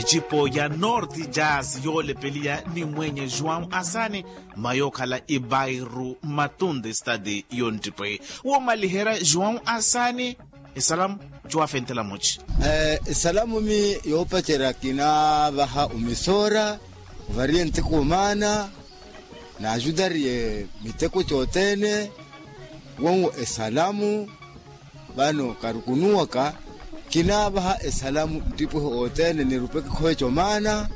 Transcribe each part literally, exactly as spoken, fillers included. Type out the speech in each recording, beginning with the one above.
ncipo ya norte jazz yoolepeliya ni mweenye juwau asani, mma yookhala ibairu matunde stadi yonttipwehi. Woomaliherya juwau asani, esalamu cuwafenttela muci. Esalamu mi yoopacerya kinaavaha omisoora, ovariye nteko omaana, naajutariye miteko cothene. Wonwo esalamu. Vano karukunuwaka, kinaavaha esalamu nttipwehi othene nirupeke khoveca omaana,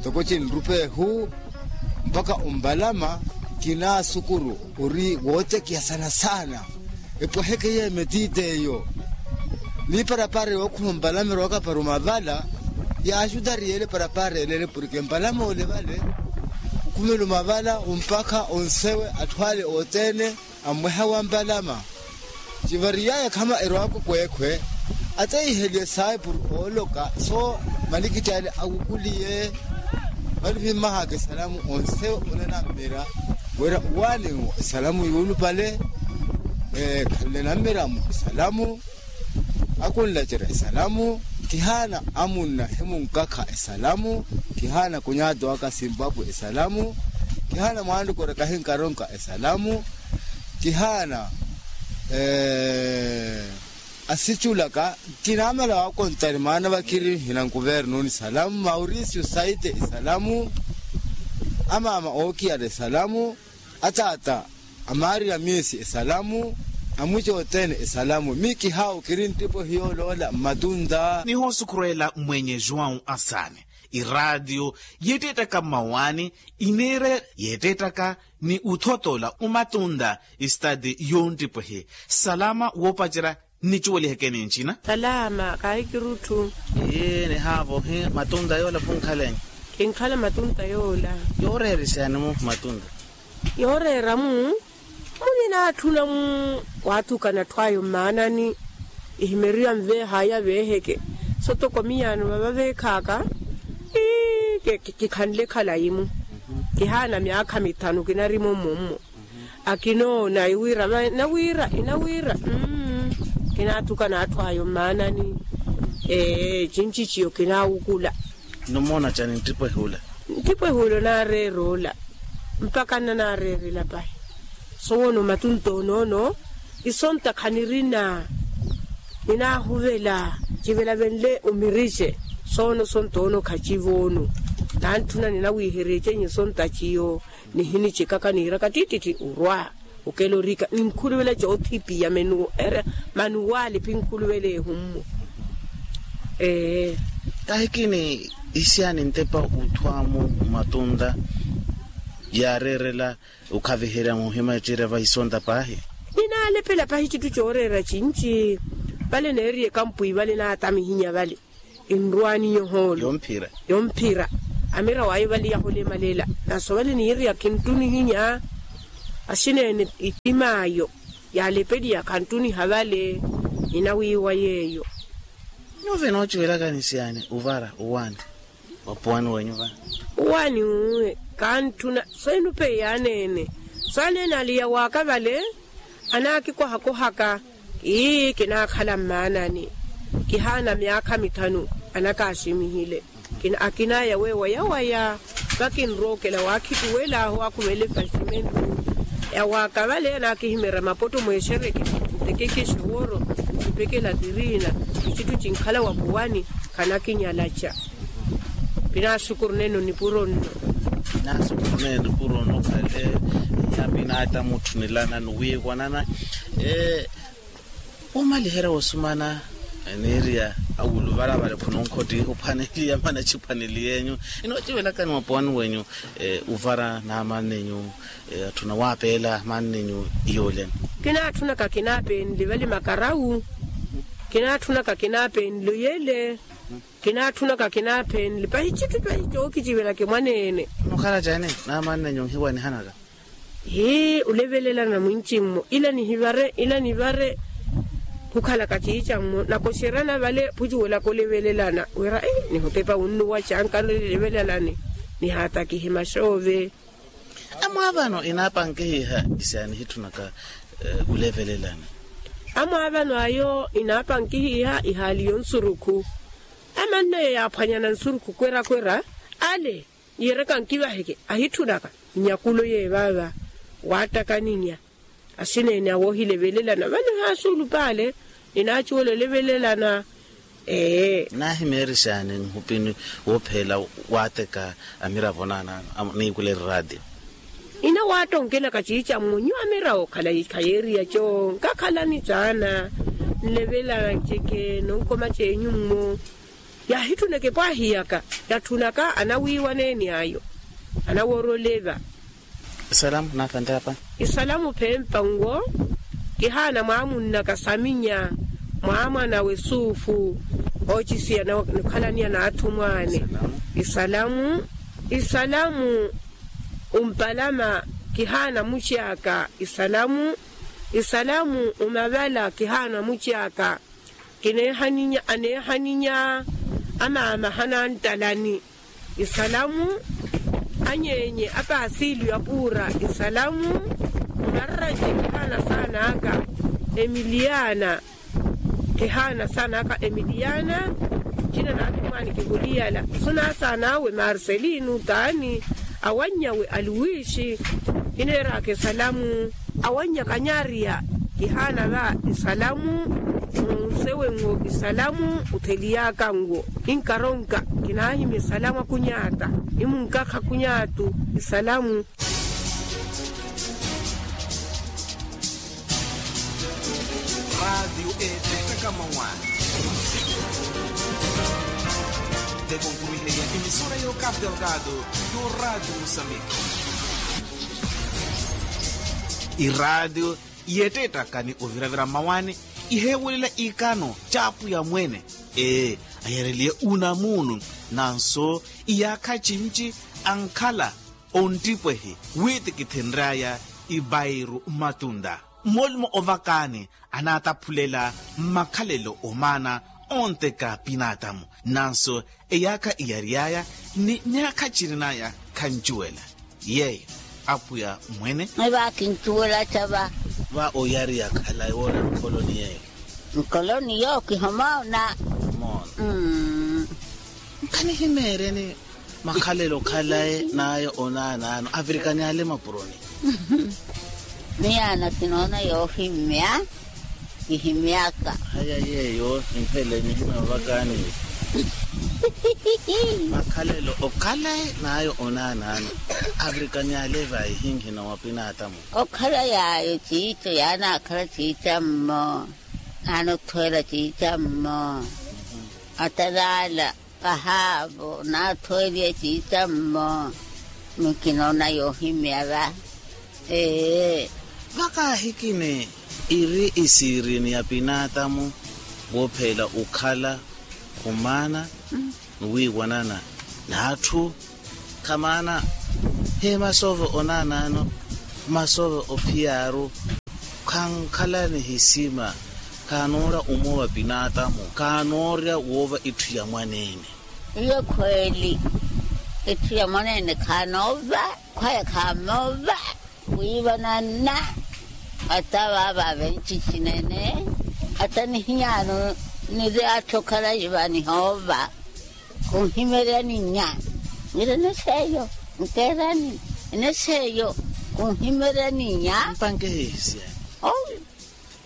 ntoko cinrupehu mpakha ombalama. Kinaasukuru ori wootekiha saana saana epweheke yeemetiite eyo. Ni parapara yookhuma ombalama erowaka para omavala, yaajutariye ele parapara elele porke mbalama ole vale, khumela omavala ompakha onsewe atthu ale othene. Ammweha wa mbalama civariyaya khama erowaka okweekhwe, ateyiheliye saipuru ooloka so malikitti ale awukuliye. Vale vimmahaka esalamu onse onena mmira wira uwaani esalamu yuulupale. Khanle na mmira mwa esalamu akunlacerya esalamu. Kihaana amunna himunkakha esalamu. Kihaana kunyaati waka simpapwe esalamu. Kihaana mwaanrukore kahinkaronka esalamu. Kihaana asiculaka. Kinaamala waakontani maana vakiri hina nkuvernuni esalamu maurisiyo saite esalamu. Amaama ookiyala esalamu. Ataata amaariya miisi esalamu. Amwici othene esalamu mi kihaawu kiri nttipwehi yooloola mmatunta. Nihoosukhurwela mmwenye juwau asaani. Iraatiyo yeetteettaka mmawaani ineera yeetteettaka ni uthotoola omatunta. Istati yonttipwehi. Salama woopacerya nnicuweliheke ni ncina. Salama kaahi kirutthu. Ii nihaavohi matunta yoola khunkhaleni. Kinkhala matunta yoola. Yooreera isaani mu matunta? Yooreera mu muninatthuna mu waathukana atthu ayo mmaanani. Ihimeriwa nveehaya veeheke. Sotoko miyaano vava veekhaaka. Ii kikhanle khalayi mu kihaana myaakha mithanu kinarimo mmummo. Akinoona iwira inawira inawira. Kinaathukana atthu ayo mmaanani. Ee cinci ciyo kinaawukula. Nnumoona cani nttipwehi ula? Nttipwehi ula onaareera ola mpakha nnanaareerela pahi. Sowoono matunta onoono isonta khanirina. Ninaahuvela civela venle omirice. Soono sonta ono khacivoono. Nantthuna ninawiiherya ecenyi sonta ciyo. Nihinicekaka niiraka ttittitthi orwa okela orika ninkhuluvela coothipiya menu ere manuwaali phinkhuluvela ehummu. Ee kahikini isiani ntepa uthwaamu matunta yaareerela okhaviherya muhima ecerya vahisonta paahi. Ninaalepela pahi citthu cooreera cinci. Vale neeriye kampwi vale naatamihinya vale. Enrwaani yohoolo yomphira. Yomphira amira waayo vale yaholemaleela. Naso vale niiriya khinttunihinya. Asineene ittimaayo yaalepeliya khanttuniha vale. Ninawiiwa yeeyo. Nyuwo vinoocivelaka nisiyaani ovara owaani? Opuwani wenyu vale owaani uwe. Kantthuna so enupeyi aneene. So aneene aliya waaka vale anaakikohakohaka. Ii kinaakhala mmaanani. Kihaana myaakha mithanu anakaximihile. Akinaya weewayawaya vakinrookela waakhituwelaahu akhuvela efasimentu. Yawaaka vale anaakihimerya mapotto mweexereke ntekekeshe wooro. Kipekela tiriina icitthu cinkhala wakuwani. Khanakinyalaca. Pinaaxukuru nenu nipuro nno. Pinaaxukuru nenu nipuro nno khale. Yapinaata mutthu nilanani wiiwanana. Womaliherya wosumana eniiriya awuluvala vale khunonkhottiha ophwaneliya mana ciphwaneli yenyu. Inoocivelakani mwapuwani wenyu uvara naamannenyu atthuna waapeela mannenyu iyooleni? Kinaatthunaka kinaapenle vale makarawu. Kinaatthunaka kinaapenle oyele. Kinaatthunaka kinaapenle pahi citthu pahi cookicivelaka mwaneene. Mukhala cani naamannenyu nhiwanihanaka? Hii olevelelana mwinci mmo ila nihivare ila nivare. Khukhalaka ciica mmo nakoxerana vale phucuwelaka olevelelana wira nihotepa wunnuwa canka nlevelelani. Nihaatakihe maxoove. Amwaavano enaapankihiha isiya nihitthunaka olevelelana. Amwaavano ayo enaapankihiha ihaali yonsurukhu. Amannaye yaaphwanyana nsurukhu kwera-kwera ale, yiiraka nkivaheke ahitthunaka nyakulo yeevaava. Waattakaninya asineene awoohilevelelana vano ehaasuulupa ale ninaacuwela olevelelana. Ee. Naahimeerixaani nhupini woopheela waatteka amiravo naanaano niikula erraatiyo. Ina waattonkelaka ciicammo nyuwo amiravo khayeeriya co nkakhalani caana nlevelana nceke nonkoma ceenyu mmo. Yaahitthuneke pwaahiyaka yatthunaka anawiiwaneeni ayo anawoora oleva. Isalamu naafantapa. Isalamu phempa nwo kihaana mwaamunnaka saminya mwaamwanawe suufu oocisiya nokhalaniya n'athumwaani. Isalamu. Isalamu umpalama kihaana muci aka. Isalamu. Isalamu umavala kihaana muci aka. Kineehaninya aneehaninya amaama hanantalani. Isalamu. Anyeenye apaasiilyo apuura. Isalamu. Mmararanje kihaana saan'aka emiliyaana. Kihaana saan'aka emiliyaana. Cina naathumwaani kihuliyala sunaasaan'awe marcelino taani. Awannyawe aluwiixi kineeraka isalamu. Awannyaka nyaariya kihaana va isalamu. Nsewe nwo isalamu otheliyaka nwo. Ninkaronka kinaahimya isalamu akunyaata nimunkakha akunyaatu. Isalamu. Raatiyo eettaka mawaani. Tekonkumiheya emisora y'okapu delgado y'oraatiyo musambiki. Iraatiyo yeettettaka ni oviravira mmawaani iheewelela ikano ca apwiya mwene. Ee, ayareliye unamuunu. Nanso iyaakha cinci ankhala onttipwehi wiitikithinry'aya ipairu mmatunta. Mmoolumo ovakaani anaataphulela mmakhalelo omaana ontteka pinaatamu. Nanso eyaakha iyary'aya ni myaakha cirin'aya khancuwela yeeyo apwiya mwene. Eva kincuwela ca va. Va oyariya khalayi woona nkholoni yeeyo. Nkholoni yo kihoma ona. Moona. Nkanihimeereni makhalelo khalayi n'aya onaanaano avirikani ale mapuroni. Miyaana kinoona yoohimya. Kihimyaka. Haya yeeyo nimpheleni hina ovakaani. Makhalelo okhalayi n'aya onaanaano avirikani ale vaihinhina wa pinaatamu. Okhala yaayo ciico yaanaakhala ciicammo. Naanothweela ciicammo. Atalaala. Pahaavo naathweeliye ciicammo. Mikinoona yoohimya va. Ee. Vakaahikini iri isiirini ya pinaatamu woopheela okhala khumaana ni wiiwanana n'atthu. Khamaana hii masoove onaanaano masoove ophiyaaru. Khankhala nihisima. Khaanoorya omoowa pinaatamu khaanoorya woova itthu ya mwaneene. Iyo khweeli. Itthu ya mwaneene khaanoova. Khwaya khamoova. Wiivanana. Ata vaava venci cinene. Ata nihiyaano niri atthu okhalayi va nihoova. Khunhimeryani nya. Niri eneseyo. Nkeerani eneseyo. Khunhimeryani nya. Mpanke hihisiyani. Oyo.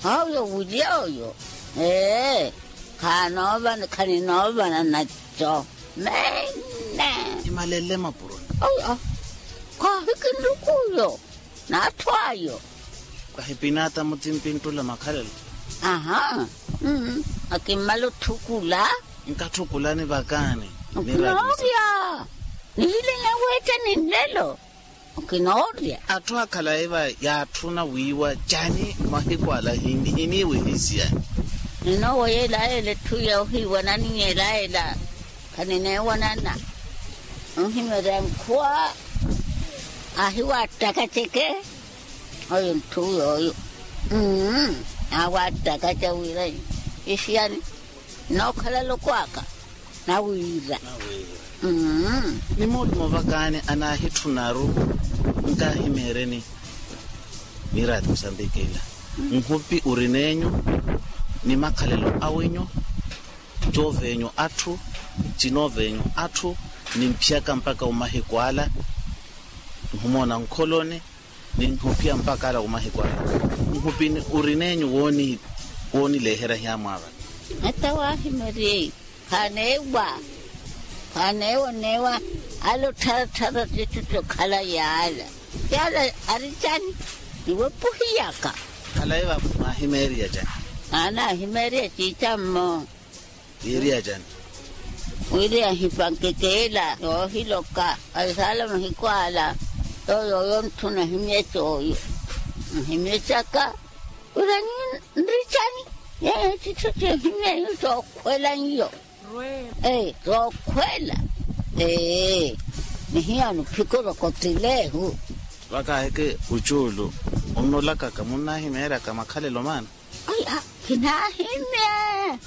Oyo wulya oyo. Ee. Khaanoovana khaninoovana naco. Mene. Imalele mapuroni. Oyo. Khaahikinlukuyo. N'atthu ayo. Khahipinaata mutimpinttula makhalelo. Aha. Akimmala otthukula. Nkatthukulani vakaani. Okinoorya. Nihilenya weettani nlelo. Okinoorya. Atthu akhalayi va yaatthuna wiiwa cani mahiku ala hiniiwe hiisiyani. Ninoowa yeelayeela etthu yoohiiwanani yeelayeela. Khanineewanana. Onhimerya nkhuwa. Ahiwattakaceke. Oyo ntthu yooyo. Awattakaca wira isiyani. Nookhala loko aka. Nawiira. Ni moolumo vakaani anaahitthunaru. Nkaahimeereni. Miraati musambiki ila. Nhupi orin'enyu. Ni makhalelo awenyu. Cooveenyu atthu, cinoovenyu atthu, nimphiyaka mpakha omahiku ala, nhumoona nkholoni, ninhuphiya mpakha ala omahiku ala. Nhupini orinenyu woonileehera hiyamwaavana? Ata waahimeriye. Khaneewa, khaneewa oneewa. Ala ottharattharati etthu okhala yaala. Yaala ari cani? Niwepuhiyaka. Khalayi va mwaahimeeriya cani? Naanahimeeriya ciicammo. Wiiriya cani? Wiiriya nhipankeke ela yoohiloka. Khayisaala mahiku ala. Yooyo yooyo nthu nahimyece oyo. Nhimyecaka. Wira nri cani? Yeeyo citthu cinhimyeyo sookhwela nyo. Sookhwela. Ee. Nihiyano phikoro kotilehu. Vakaheke ucuulu. Onnoolakaka munnahimeeryaka makhalelo maana? Aya, kinaahimya.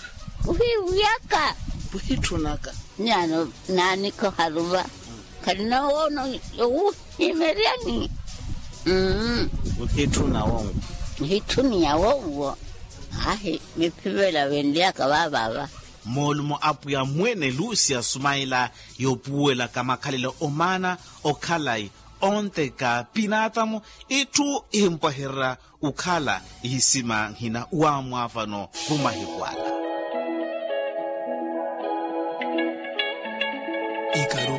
Ohiiwiyaka. Ohitthunaka. Nyano naanikha oharuva. Khalina woono yowuhimeryani. Mmm. Okhiitthuna wonwo. Ohitthuniya wonwo. Ahi miphivela venlyaka vaavaava. Moolumo apwiya mwene lucia sumaila yoopuwelaka makhalelo omaana okhalayi onteka pinaatamu. Itthu ihimpwahererya okhala ihisima nhina waamwaavano khumahiku ala. Ikari